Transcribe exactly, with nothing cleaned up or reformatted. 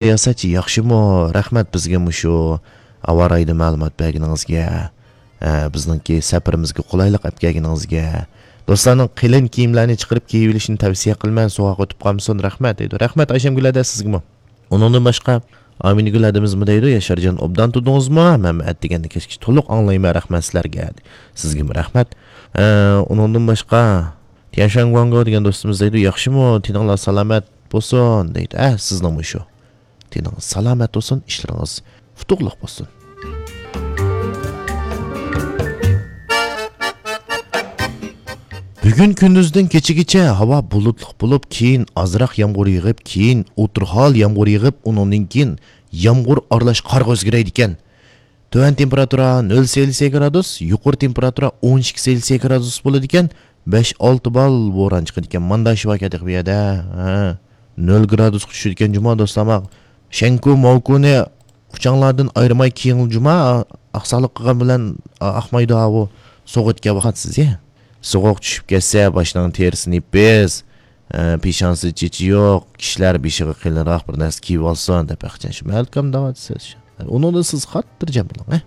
رىياسەتچى، ياخشىمۇ؟ رەھمەت بىزگە مۇشۇ ھاۋا رايىدا مەلۇمات بەرگىنىڭىزگە، ئە، بىزنىڭكى سەپىرىمىزگە قولايلىق ئەپ كەلگىنىڭىزگە. دوستلارنىڭ قېلىن كىيىملەرنى چىقىرىپ كىيىۋېلىشنى تەۋسىيە قىلىمەن، سوغۇق ئۆتۈپ قالمىسۇن، رەھمەت دەيدۇ. رەھمەت ئايشەمگۈل ھەدە سىزگىمۇ. ئۇنىڭدىن باشقا، ئامىنگۈل ھەدىمىزمۇ دەيدۇ، ياشارجان ئوبدان تۇردىڭىزمۇ؟ مەن ئەتىگەندە كەچكىچە تولۇق ئاڭلايمەن، رەھمەت سىلەرگە. سىزگىمۇ رەھمەت. ئە، ئۇنىڭدىن باشقا، تيەنشەن گۇاڭگو دېگەن دوستىمىز دەيدۇ، ياخشىمۇ؟ تېنىڭلار سالامەت بولسۇن دەيدۇ. ئە، سىزنىڭمۇ شۇ. تېنىڭىز سالامەت بولسۇن، ئىشلىرىڭىز ئۇتۇقلۇق بولسۇن. بۈگۈن كۈندۈزدىن كېچىگىچە ھاۋا بۇلۇتلۇق بولۇپ، كېيىن ئازراق يامغۇر يېغىپ، كېيىن ئوتتۇرا ھال يامغۇر يېغىپ، ئۇنىڭدىن كېيىن يامغۇر ئارىلاش قارغا ئۆزگىرەيدىكەن. تۆۋەن تېمپېراتۇرا نۆل سېلسىيە گرادۇس، يۇقىرى تېمپېراتۇرا ئون ئىككى سېلسىيە گرادۇس بولىدىكەن، بەش ئالتە بال بوران چىقىدىكەن. ماندا شۇ ئەكەدى بۇ يەردە. ھە. نۆل گرادۇسقا چۈشىدىكەن جۇما، دوستلار. شەنكۇ، ماۋكۇنى ئۇچاڭلاردىن ئايرىماي كىيىڭ جۇما، ئاقساقلىق قىلغان بىلەن ئاقمايدۇ ھاۋۇ. سوغۇق كەۋاخات سىز، يە. سوغۇق چۈشۈپ كەتسە، باشنىڭ تېرىسى نېپىز، ئە، پېشانىسى چېچى يوق، كىشىلەر بېشىغا قېلىنراق بىر نەرسە كىيىۋالسۇن، دەپ ھەقچەن شۇ مەلكەم دەۋاتىسىز. ئۇنىڭدىن سىز خاتىرجەم بولۇڭ، ھە.